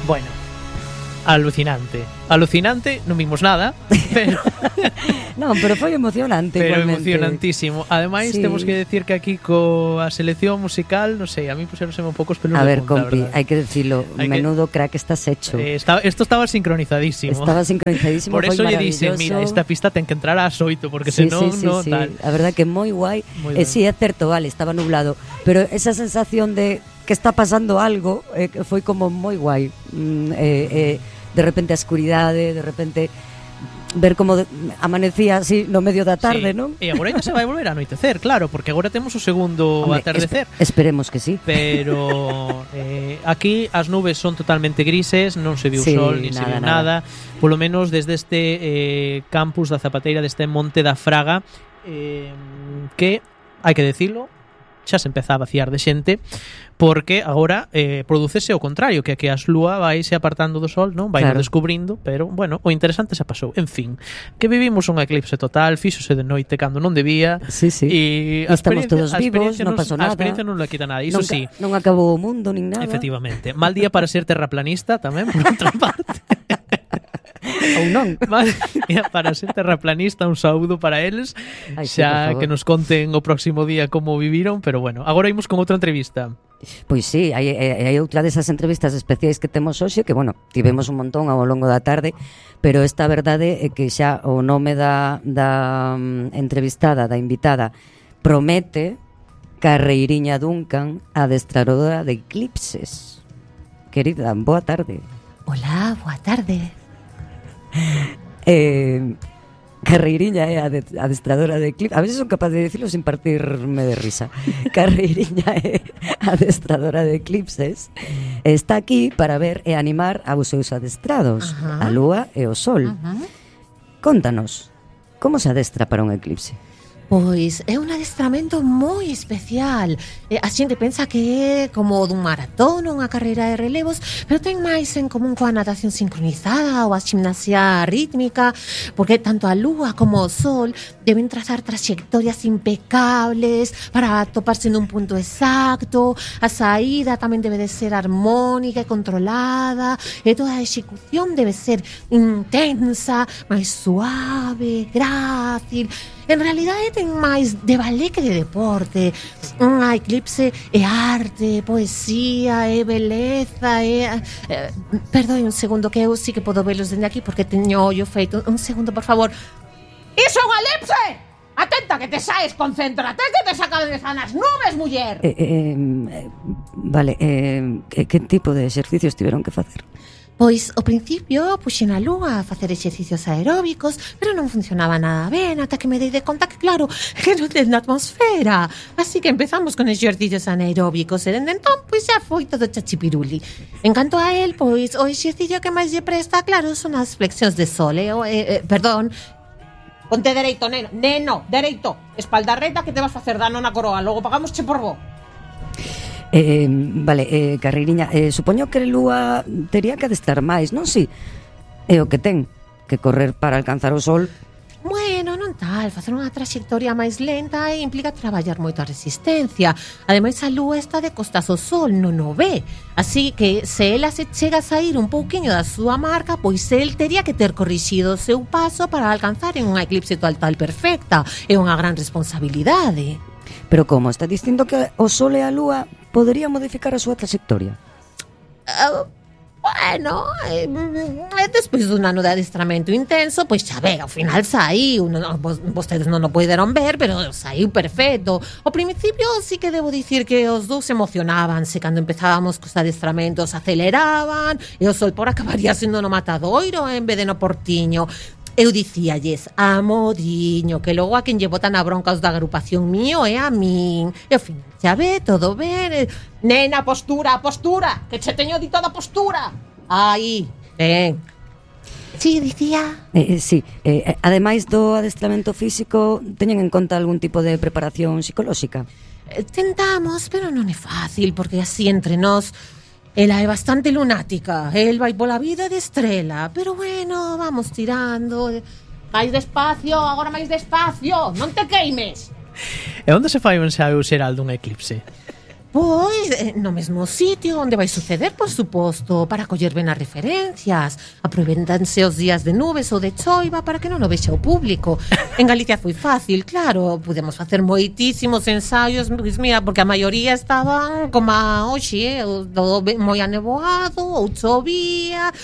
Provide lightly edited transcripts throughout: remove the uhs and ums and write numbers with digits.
Bueno, alucinante, non vimos nada, pero Non, pero foi emocionante pero igualmente. emocionantísimo. Ademais, Sí. temos que decir que aquí coa selección musical, non sei, a mí puxéronse un pouco os pelos A de ver, punta, compi, verdad. hai que decirlo, Hai que- menudo crack estás hecho. Esto estaba sincronizadísimo. Estaba sincronizadísimo, Por foi eso lle maravilloso. dixen, mira, esta pista ten que entrar ás 8 porque Sí, senón sí, sí, non sí. tal. A verdad que moi guai. Moi ben. Sí, é certo, vale, estaba nublado, pero esa sensación de que está pasando algo que foi como moi guai. De repente a escuridade, de repente ver como amanecía así no medio da tarde, Sí. non? E agora xa se vai volver a anoitecer, claro, porque agora temos o segundo Hombre, atardecer. Esperemos que sí. Pero aquí as nubes son totalmente grises, non se viu Sí, sol, ni se viu nada. Polo menos desde este campus da Zapateira, deste Monte da Fraga, que, hai que decirlo, xa se empeza a vaciar de xente, porque agora producese o contrario, que as lúa vai se apartando do sol, non? Vai Claro. descubrindo, pero, bueno, o interesante xa pasou. En fin, que vivimos un eclipse total, fíxose de noite cando non debía, Sí, sí. e Estamos todos vivos, non pasou A nada. experiencia non la quita nada, iso sí. Non acabou o mundo nin nada. Efectivamente. Mal día para ser terraplanista tamén, por outra parte. Ou non. Mal día para ser terraplanista, un saúdo para eles. Ai, sí, por Xa favor. que nos conten o próximo día como viviron, pero bueno, agora imos con outra entrevista. Pois sí, hai outra desas entrevistas especiais que temos hoxe, que, bueno, tivemos un montón ao longo da tarde, pero esta verdade é que xa o nome da entrevistada, da invitada, promete Carreiriña Duncan, adestradora de eclipses. Querida, boa tarde. Hola, boa tarde. Carreiriña é adestradora de eclipses. A veces son capaz de decirlo sin partirme de risa. Carreiriña é adestradora de eclipses. Está aquí para ver e animar aos seus adestrados, Ajá. a lúa e o sol. Contanos, como se adestra para un eclipse? Pois é un adestramento moi especial. A xente pensa que é como dun maratón ou unha carreira de relevos, pero ten máis en común coa natación sincronizada ou a gimnasia rítmica, porque tanto a lúa como o sol deben trazar trayectorias impecables para atoparse nun punto exacto. A saída tamén debe de ser armónica e controlada, e toda a execución debe ser intensa, máis suave, grácil. En realidade ten máis de ballet que de deporte. Unha eclipse é arte, poesía, é beleza, perdoe un segundo que eu sí que podo velos dende aquí porque teño ollo feito. Un segundo, por favor. ¡Iso é un elipse! Atenta que te saes, concéntrate que te saca de zanas nubes, muller. Vale, que tipo de exercicios tiveron que facer? Pois, ao principio, puxen a lúa a facer exercicios aeróbicos, pero non funcionaba nada ben, ata que me dei de conta que, claro, que non ten atmosfera. Así que empezamos con exercicios anaeróbicos, e dende entón, pois xa foi todo chachipiruli. En canto a él, pois, o exercicio que máis lle presta, claro, son as flexións de sol, perdón. Ponte dereito, neno. Neno, dereito. Espalda reta que te vas facer dano na coroa. Logo pagamos che por bo. Vale, Carreiriña, supoño que Lúa tería que adestrar máis, non si? É o que ten, que correr para alcanzar o sol. Bueno, non tal, facer unha traxectoria máis lenta implica traballar moito a resistencia. Ademais, a lúa está de costas ao sol, non o ve. Así que, se ela se chega a sair un pouquiño da súa marca, pois el tería que ter corrixido o seu paso para alcanzar en unha eclipse total perfecta. É unha gran responsabilidade. Pero como? Está dicindo que o sol e a lúa poderían modificar a súa trayectoria? Bueno, despois dun ano de adestramento intenso, pois xa ve, ao final saiu, vostedes non o poderon ver, pero saiu perfecto. Ao principio sí que debo dicir que os dous se emocionábanse cando empezábamos cos adestramentos, aceleraban, e o sol por acabaría sendo no matadoiro en vez de no portiño. Eu dicíalles, amodiño, que logo a quen lle botan a bronca os da agrupación mío é a min. E ao final, xa ve, todo ben. Nena, postura, postura, que che teño dito da postura. Aí, ben. Sí, dicía. Sí, ademais do adestramento físico, teñen en conta algún tipo de preparación psicolóxica? Tentamos, pero non é fácil, porque así entre nós... Ela é bastante lunática, el vai pola vida de estrela, pero bueno, vamos tirando. Máis despacio, agora máis despacio, non te queimes. E onde se fai un ensaio xeral dun eclipse? Pois, no mesmo sitio onde vai suceder, por suposto, para coller ben as referencias. Aproveitanse os días de nubes ou de choiva para que non o vexa o público. En Galicia foi fácil, claro, podemos facer moitísimos ensaios, pois mira, porque a maioría estaban como hoxe, todo moi anevoado ou chovía.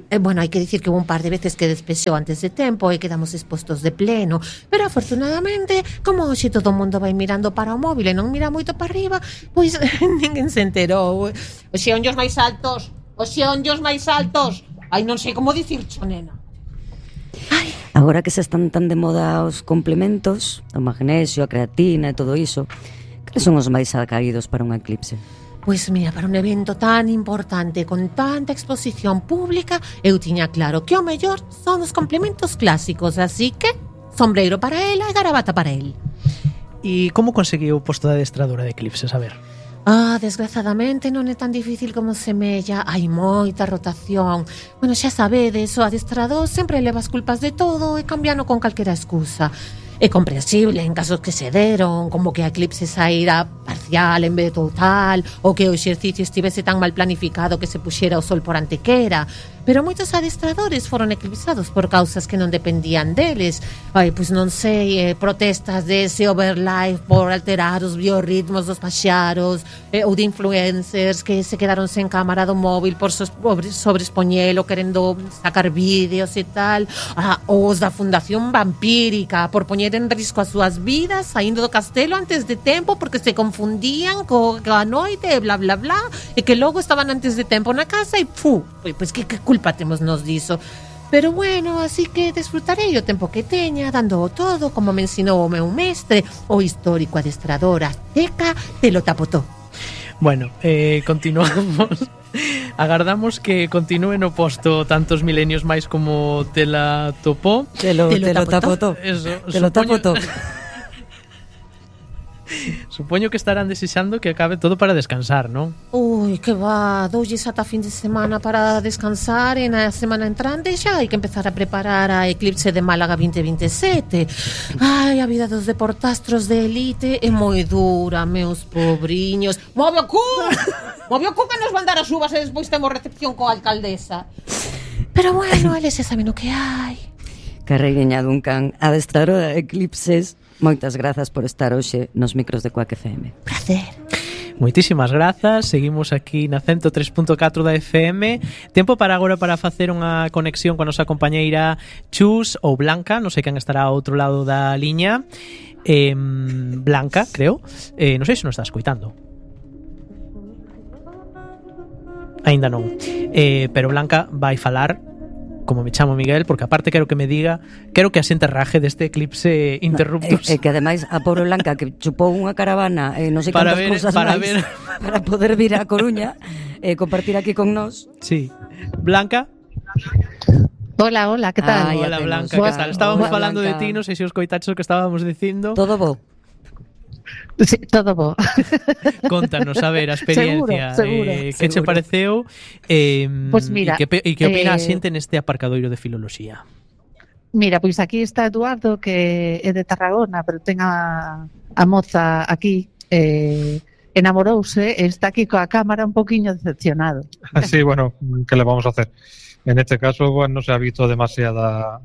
Bueno, hai que dicir que hubo un par de veces que despexou antes de tempo e quedamos expostos de pleno, pero afortunadamente, como hoxe todo o mundo vai mirando para o móvil e non mira moito para arriba, pois ninguén se enterou. Os xeonllos máis altos, os xeonllos máis altos. Ai, non sei como dicircho, nena. Agora que se están tan de moda os complementos, o magnesio, a creatina e todo iso, que son os máis acaídos para un eclipse? Pois mira, para un evento tan importante con tanta exposición pública, eu tiña claro que o mellor son os complementos clásicos, así que sombreiro para ela e garabata para el. E como conseguiu o posto de adestradora de Eclipse, a ver? Desgraciadamente non é tan difícil como semella. Hai moita rotación. Bueno, xa sabedes, o adestrador sempre leva as culpas de todo e cambiano con calquera excusa. É comprensible en casos que se deron, como que a Eclipse saíra parcial en vez de total, ou que o exercicio estivese tan mal planificado que se puxera o sol por antequera. Pero moitos adestradores foron eclipsados por causas que non dependían deles. Pois non sei, protestas dese overlife por alterar os biorritmos dos paxaros, ou de influencers que se quedaron sen cámara do móvil por sobreexpoñelo, querendo sacar vídeos e tal. Ou os da Fundación Vampírica por poñer en risco as súas vidas saindo do castelo antes de tempo porque se confundían coa noite e bla bla bla, e que logo estaban antes de tempo na casa e pois que culpa temos nos diso. Pero bueno, así que desfrutarei o tempo que teña dando todo como me ensinou o meu mestre, o histórico adestrador azteca de Lotapotó. Bueno, continuamos. Agardamos que continúe no posto tantos milenios máis como te la topó. Te lo tapotó. Eso, te lo tapotó. Supoño que estarán desexando que acabe todo para descansar, non? Ui, que va, doulles ata fin de semana para descansar e na semana entrante xa hai que empezar a preparar a Eclipse de Málaga 2027. Ai, a vida dos deportastros de elite é moi dura, meus pobriños. Move o cu! Move o cu que nos van dar as uvas e despois temos recepción coa alcaldesa. Pero bueno, eles xa saben o que hai. Carregueña Duncan, adestradora de Eclipses, moitas grazas por estar hoxe nos micros de Quack FM. Prazer. Moitísimas grazas, seguimos aquí na 103.4 da FM. Tempo para agora para facer unha conexión coa nosa compañeira Chus ou Blanca, non sei quen estará ao outro lado da liña. Blanca, creo. Non sei se nos está escoitando. Aínda non. Pero Blanca vai falar como me chamo Miguel, porque aparte quero que me diga, quero que asente raje deste Eclipse Interruptus. Que ademais a pobre Blanca que chupou unha caravana non sei cantas cousas máis para poder vir a Coruña e compartir aquí con nós. Sí. Blanca? Hola, ¿qué tal? Hola, Blanca, ¿qué tal? Estábamos falando de ti, non sei se os coitaches o que estábamos dicindo. Todo bo. Sí, todo bo. Contanos, a ver, a experiencia. Seguro. Que che pareceu? Pues mira, e que opina a xente neste aparcadoiro de filoloxía? Mira, pois aquí está Eduardo, que é de Tarragona, pero ten a moza aquí, enamorouse, e está aquí coa cámara un poquinho decepcionado. Sí, bueno, ¿qué le vamos a hacer? En este caso, bueno, no se ha visto demasiada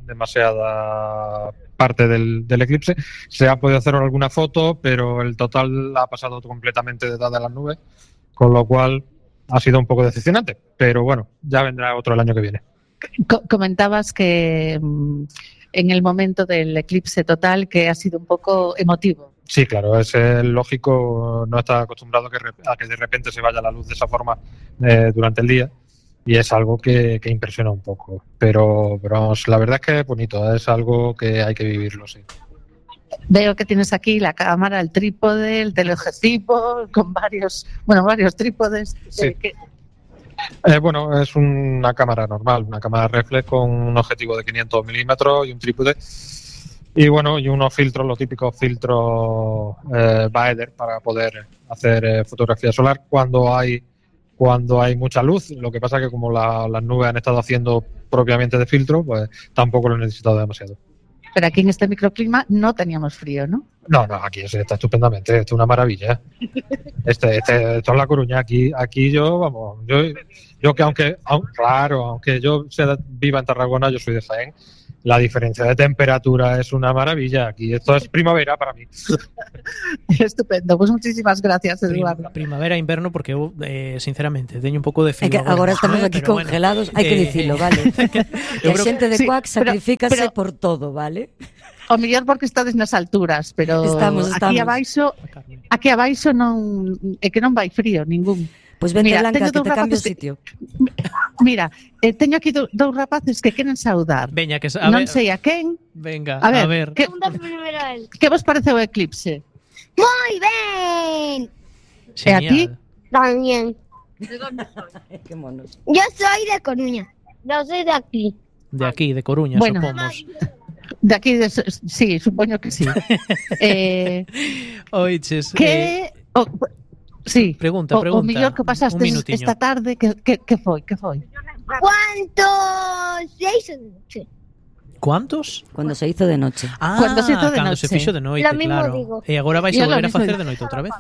parte del eclipse. Se ha podido hacer alguna foto, pero el total ha pasado completamente detrás de las nubes, con lo cual ha sido un poco decepcionante. Pero bueno, ya vendrá otro el año que viene. Comentabas que en el momento del eclipse total que ha sido un poco emotivo. Sí, claro, es lógico, no está acostumbrado a que de repente se vaya la luz de esa forma durante el día. Y es algo que impresiona un poco, pero vamos, la verdad es que es bonito, es algo que hay que vivirlo, sí. Veo que tienes aquí la cámara, el trípode, el teleobjetivo, con varios trípodes. Sí. Bueno, es una cámara normal, una cámara reflex con un objetivo de 500 milímetros y un trípode. Y bueno, y unos filtros, los típicos filtros Baeder para poder hacer fotografía solar cuando hay mucha luz. Lo que pasa es que como las nubes han estado haciendo propiamente de filtro, pues tampoco lo he necesitado demasiado. Pero aquí en este microclima no teníamos frío, ¿no? No, aquí se está estupendamente, esto es una maravilla. Esto es La Coruña, aquí yo, vamos, yo que aunque yo viva en Tarragona, yo soy de Jaén, la diferencia de temperatura es una maravilla. Aquí esto es primavera para mí. Estupendo, pues muchísimas gracias, Eduardo. Primavera, invierno, porque eu, sinceramente, teño un pouco de frío. Agora estamos aquí pero congelados, hai que dicilo, vale? Que a xente de Cuac sacrifícase por todo, vale? O mellor porque estades nas alturas, pero estamos. Aquí abaixo non é que non vai frío ningún. Pois vente, Blanca, que te cambio o sitio. Mira, teño aquí dous rapaces que queren saudar. Veña, que non sei a quen. Venga, a ver. Que vos parece o eclipse? Moi ben. E a ti? También. ¿De dónde soy? Qué monos. Yo soy de Coruña. Yo soy de aquí. De aquí, de Coruña, bueno, supomos. De aquí, sí, supoño que sí. Oiches, sí. Pregunta. O mellor que pasaste esta tarde, que foi? ¿Cuántos se hizo de noche? ¿Cuántos? Cuando se hizo de noche. Cuando se hizo de cando noche. se fixo de noite, Lo mismo claro. digo. E agora vais a volver a facer de noite outra vez.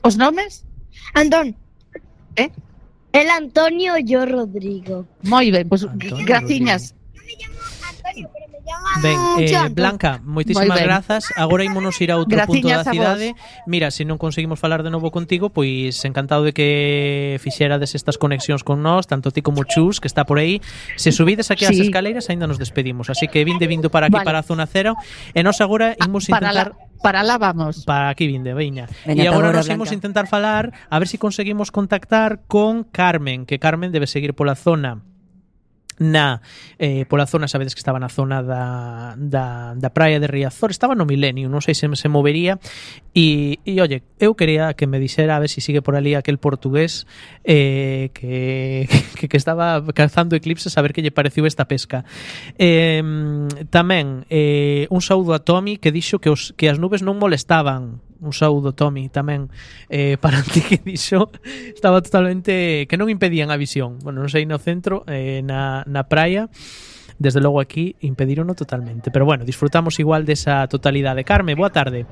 Os nomes? Antón. ¿Eh? El Antonio, yo Rodrigo. Moi ben, pues Antonio graciñas. No me llamo Antonio, pero me llamo Ben, Blanca, moitísimas grazas. Agora ímonos ir a outro punto da cidade. Mira, se non conseguimos falar de novo contigo, pois encantado de que fixerades estas conexións con nós, tanto ti como Chus, que está por aí. Se subides aquí ás escaleiras, aínda nos despedimos. Así que vindo para aquí, para a zona cero. E nós agora imos intentar... Para lá vamos. Para aquí veña. E agora nos imos intentar falar, a ver se conseguimos contactar con Carmen, que Carmen debe seguir pola zona pola zona, sabedes que estaba na zona da praia de Riazor, estaba no Milenio, non sei se movería e oye, eu quería que me dixera a ver se sigue por ali aquel portugués que estaba cazando eclipses, a ver que lle pareceu esta pesca. Tamén un saúdo a Tommy, que dixo que as nubes non molestaban. Un saúdo, Tommy, tamén para ti, que dixo estaba totalmente, que non impedían a visión. Bueno, non sei no centro, na praia, desde logo aquí impedirono totalmente, pero bueno, disfrutamos igual desa totalidade. Carme, boa tarde.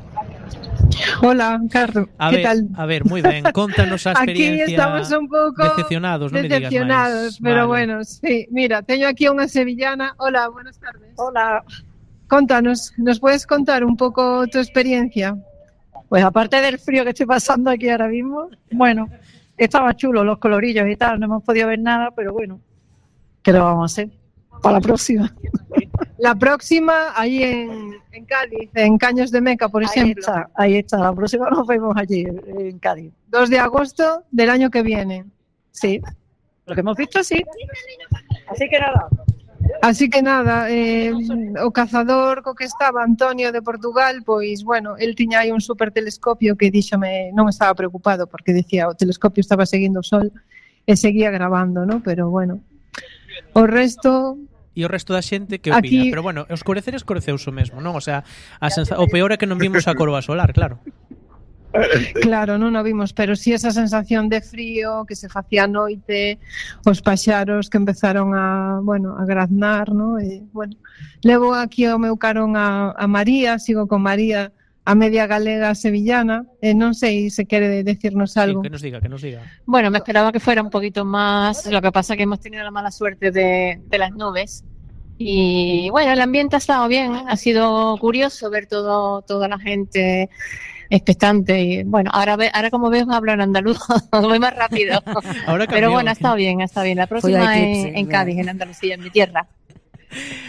Hola, Carlos, ¿qué tal? A ver, moi ben, contanos a experiencia. Aquí estamos un pouco decepcionados, non me digas máis. Pero bueno, sí, mira, teño aquí unha sevillana. Hola, buenas tardes. Hola. Contanos, ¿nos puedes contar un poco tu experiencia? Pues aparte del frío que estoy pasando aquí ahora mismo, bueno, estaba chulo los colorillos y tal, no hemos podido ver nada, pero bueno, ¿qué lo vamos a hacer? Para la próxima. La próxima, ahí en Cádiz, en Caños de Meca, por ejemplo. Ahí está, la próxima nos vemos allí, en Cádiz. 2 de agosto del año que viene. Sí, lo que hemos visto sí. Así que nada, o cazador co que estaba, Antonio de Portugal, pois, bueno, el tiña aí un super telescopio que díxome, non estaba preocupado porque decía o telescopio estaba seguindo o sol e seguía grabando, ¿no? Pero bueno, o resto... E o resto da xente que opina, aquí... pero bueno, escoreceuse mesmo, non? O sea, o peor é que non vimos a coroa solar, claro. Claro, non o vimos, pero si esa sensación de frío que se facía a noite, os paxaros que empezaron a graznar, ¿no? E, bueno, levo aquí ao meu carón a María, sigo con María, a media galega sevillana, non sei se quere decirnos algo. Sí, que nos diga. Bueno, me esperaba que fuera un poquito más, lo que pasa que hemos tenido la mala suerte de las nubes. Y bueno, el ambiente ha estado bien, ha sido curioso ver toda la gente expectante y bueno, ahora como ves hablo en andaluz, voy más rápido. Pero bueno, ha estado bien. La próxima en Cádiz, en Andalucía, en mi tierra.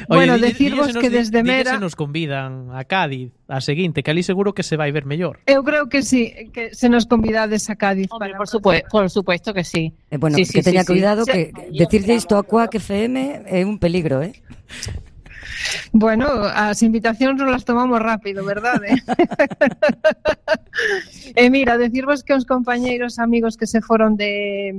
Oye, bueno, decirvos que desde Mera se nos convidan a Cádiz, a seguinte, que ali seguro que se vai ver mellor. Eu creo que sí, que se nos convidades a Cádiz. Hombre, por supuesto que sí. Bueno, sí, que teña cuidado, que decirlle isto a Cuac FM é un peligro, Bueno, as invitacións non las tomamos rápido, verdade? Mira, decirvos que os compañeiros amigos que se foron de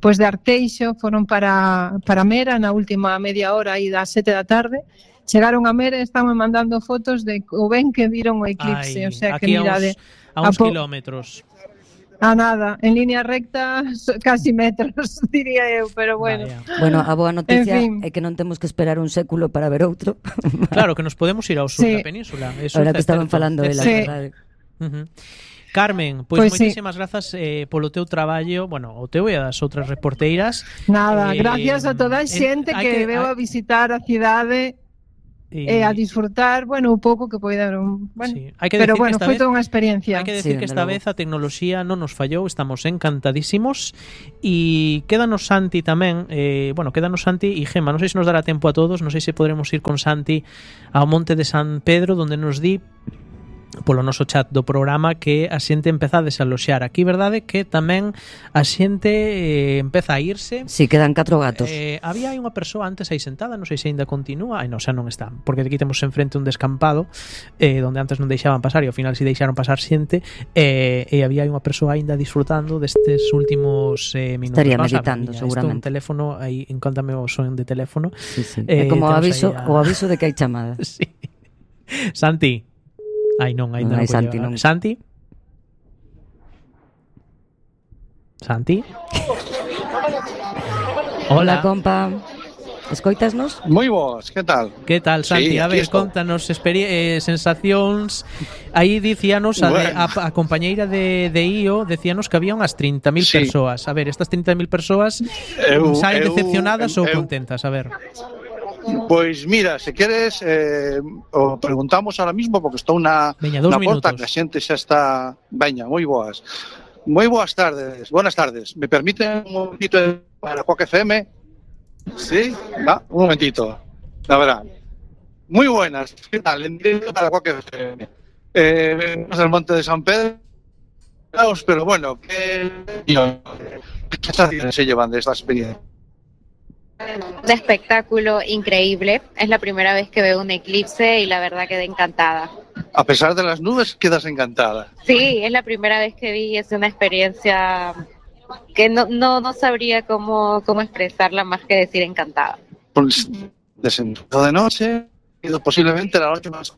Arteixo foron para Mera na última media hora aí das 7 da tarde. Chegaron a Mera e estaban mandando fotos de o ben que viron o eclipse, o sea que mirade a uns kilómetros. a nada, en línea recta, casi metros, diría eu, pero bueno. Bueno, a boa noticia En fin. é que non temos que esperar un século para ver outro. Claro, que nos podemos ir ao sur Sí. da península. Eso Ahora é que estaban certo. falando É elas, Sí. verdade? Carmen, pois Pois sí. moitísimas grazas polo teu traballo, bueno, o teu e as outras reporteiras. Nada, gracias a toda a xente hai que veu a visitar a cidade e a disfrutar, bueno, un pouco que poidaron, bueno, Sí, hai que pero decir que bueno, esta foi vez- toda unha experiencia. Hai que decir que esta vez a tecnoloxía non nos fallou, estamos encantadísimos e quédanos Santi tamén, quédanos Santi e Gema, non sei se nos dará tempo a todos, non sei se podremos ir con Santi ao Monte de San Pedro, donde nos di polo noso chat do programa que a xente empeza a desaloxar. Aquí, verdade, que tamén a xente empeza a irse. Si, quedan 4 gatos. Había aí unha persoa antes aí sentada, non sei se aínda continúa, non, xa non está, porque aquí temos enfrente un descampado donde antes non deixaban pasar e ao final si deixaron pasar xente e había aí unha persoa aínda disfrutando destes últimos minutos. Estaría Vamos a ver, meditando, miña, seguramente. Isto un teléfono, aí encóntame o son de teléfono. Sí, sí. É como o aviso de que hai chamada. Sí. Santi. Ai non, Non aínda non, hai Santi, non. non. Santi? Santi? Hola, compa. Escoitasnos? Moi boas, que tal? Que tal, Santi? Sí, a aquí ver, estou. contanos sensacións. Aí dicíanos a compañeira de IO, decíanos que había unhas 30.000 Sí. persoas. A ver, estas 30.000 persoas saen decepcionadas ou contentas, a ver. Pois mira, se queres o preguntamos ahora mismo porque estou na Veña, 2 porta minutos. que a xente xa está. Veña, moi boas. Moi boas tardes. Buenas tardes. Me permiten un momentito para Quack FM? Sí, va, un momentito. La verdad. Muy buenas. ¿Qué tal? En directo para Quack FM. Venimos del Monte de San Pedro. Pero bueno, ¿qué sensaciones se llevan de esta experiencia? Un espectáculo increíble. Es la primera vez que veo un eclipse y la verdad quedé encantada. A pesar de las nubes, quedas encantada. Sí, es la primera vez que vi, es una experiencia que no sabría cómo expresarla más que decir encantada. Pues, descendido de noche, ido posiblemente la noche más.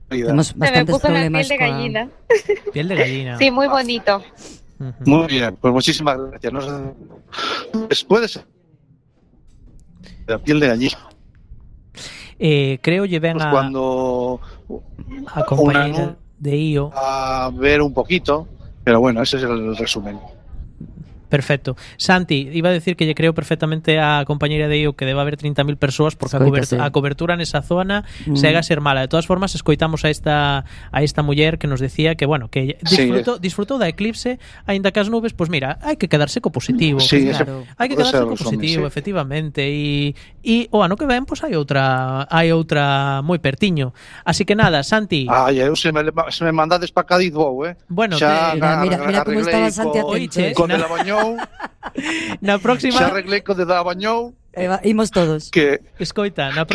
Temos Se me bastantes puso la problemas piel de gallina. Piel de gallina. Sí, muy bonito. Muy bien, pues muchísimas gracias. No sé, después la piel de gallina. Creo lle ven Pues a cuando compañeira de IO. A ver un poquito, pero bueno, ese es el resumen. Perfecto. Santi, iba a decir que lle creo perfectamente a compañeira de IO que debe haber 30.000 persoas porque Escoítase. a cobertura nesa zona chega a ser mala. De todas formas, escoitamos a esta muller que nos decía que, bueno, que disfrutou da eclipse, aínda que as nubes, pues mira, hai que quedarse co positivo. Sí, claro. Hai que quedarse co positivo, efectivamente. E o ano que ven, pues hai outra moi pertiño. Así que nada, Santi. Ai, eu se me mandades para Cádiz vou, Bueno, mira como estaba Santi atento. Con el Abañou. Na próxima xa arreglei co de Abañou. Imos todos. Que escoita, na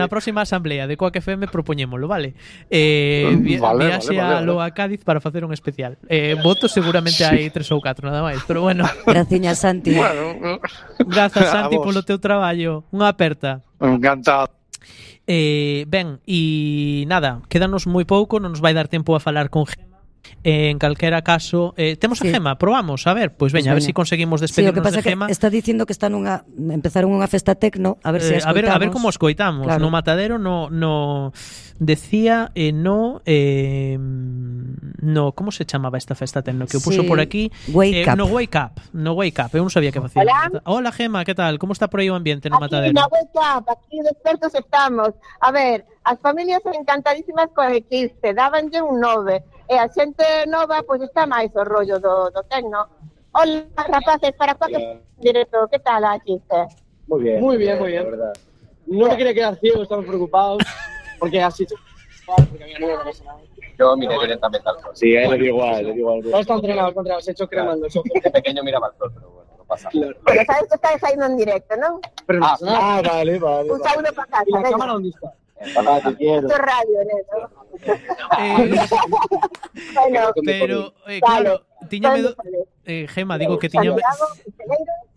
próxima asamblea de Quack FM propoñémolo, vale? Viaxe a Loa Cádiz para facer un especial. Votos seguramente hai 3 ou 4 nada máis, pero bueno. Graciña, Santi. Bueno, grazas, Santi, polo teu traballo. Unha aperta. Encantado. Ben, e nada, quédanos moi pouco, non nos vai dar tempo a falar con Gema. En calquera caso, temos a Gema, probamos, a ver, pois veña, a ver se conseguimos despedirnos o que pasa de Gema. Que está dicindo que empezaron unha festa tecno, a ver se escoitamos. A ver como escoitamos. Claro. No Matadero no decía no como se chamaba esta festa tecno que o puso por aquí? Wake Up. No Wake Up. Eu non sabía que facía. Hola, Gema, que tal? Como está por aí o ambiente no Matadero? Aquí no Wake Up, aquí despertos estamos. A ver, as familias son encantadísimas co eclipse, dábanlle un 9. E a xente nova, pois está máis o rollo do tecno. Hola, rapaces, para Quack directo, que tal a eclipse? Muy bien. Muy bien, muy bien. Verdad. No me quería quedar ciego, estamos preocupados, porque así... Porque había nueve, no sé nada. Yo miré directamente al sol. Sí, le digo igual. Todos están entrenados contra los hechos cremando. De pequeño miraba al sol, pero bueno, no pasa nada. Pero sabes que estáis saindo en directo, non? Pero no pasa nada. Vale. Un saludo para casa. ¿Y la cámara dónde está? Te quiero. Esto es radio, ¿no? Pero, claro, tiñame Gema, digo que tiña...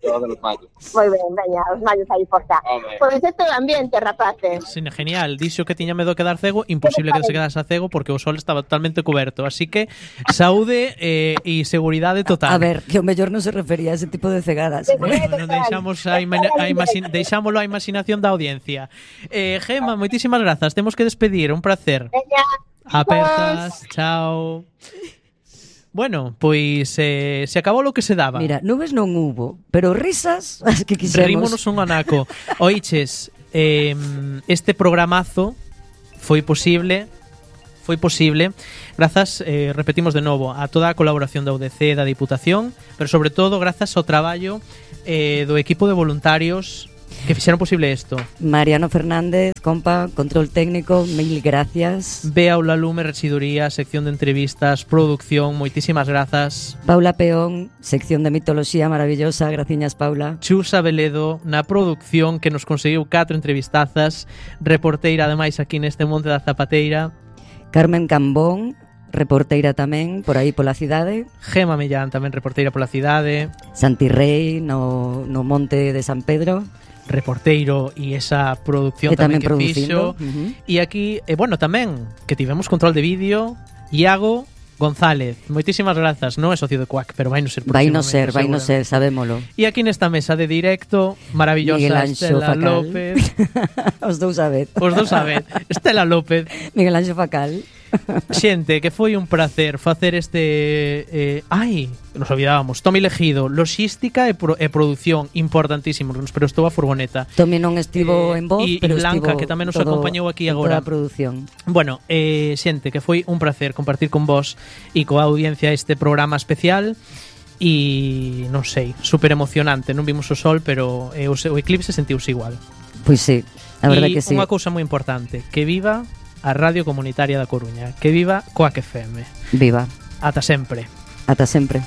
Todos los mayos. Moi ben, veña, os mallos aí por cá. Pois isto é o ambiente, rapaces. Sí, genial, dixo que tiña medo de quedar cego, imposible que se quedase cego porque o sol estaba totalmente cuberto, así que saúde e seguridade total. A ver, que o mellor non se refería a ese tipo de cegadas. Non deixámoslo á imaginación da audiencia. Gema, moitísimas grazas, temos que despedir, un placer. Veña, apertas, chao. Bueno, pois se acabou lo que se daba. Mira, nubes non hubo, pero risas as que quixemos. Rímonos un anaco. Oiches, este programazo foi posible grazas, repetimos de novo, a toda a colaboración da UDC, da Diputación, pero sobre todo grazas ao traballo do equipo de voluntarios que fixeron posible isto. Mariano Fernández, compa, control técnico, mil gracias. Bea Aulalume, Rexiduría, sección de entrevistas, producción, moitísimas grazas. Paula Peón, sección de mitoloxía maravillosa, graciñas Paula. Chusa Veledo, na producción, que nos conseguiu 4 entrevistazas, reporteira ademais aquí neste Monte da Zapateira. Carmen Cambón, reporteira tamén, por aí pola cidade. Gema Mellán, tamén reporteira pola cidade. Santi Rei, no Monte de San Pedro. Reporteiro e esa producción tamén que fixo. E aquí, bueno, tamén que tivemos control de vídeo, Iago González. Moitísimas grazas, non é socio de Quack, pero vai no ser próximamente. Vai no ser, sabémolo. E aquí nesta mesa de directo, maravillosa Estela López. Os dous a vez. Estela López. Miguel Anxo Facal. Xente, que foi un placer facer este... nos olvidábamos. Tomi Legido, logística e produción, importantísimo, nos prestou a furgoneta. Tomi non estivo en voz, pero Blanca, estivo que tamén nos acompañou aquí agora. Toda a produción. Bueno, xente, que foi un placer compartir con vos e coa audiencia este programa especial. E non sei, super emocionante. Non vimos o sol, pero o eclipse sentiuse igual. Pois sí, a verdade que sí. E unha cousa moi importante, que viva a Radio Comunitaria da Coruña, que viva Quack FM. Viva. Ata sempre. Ata sempre.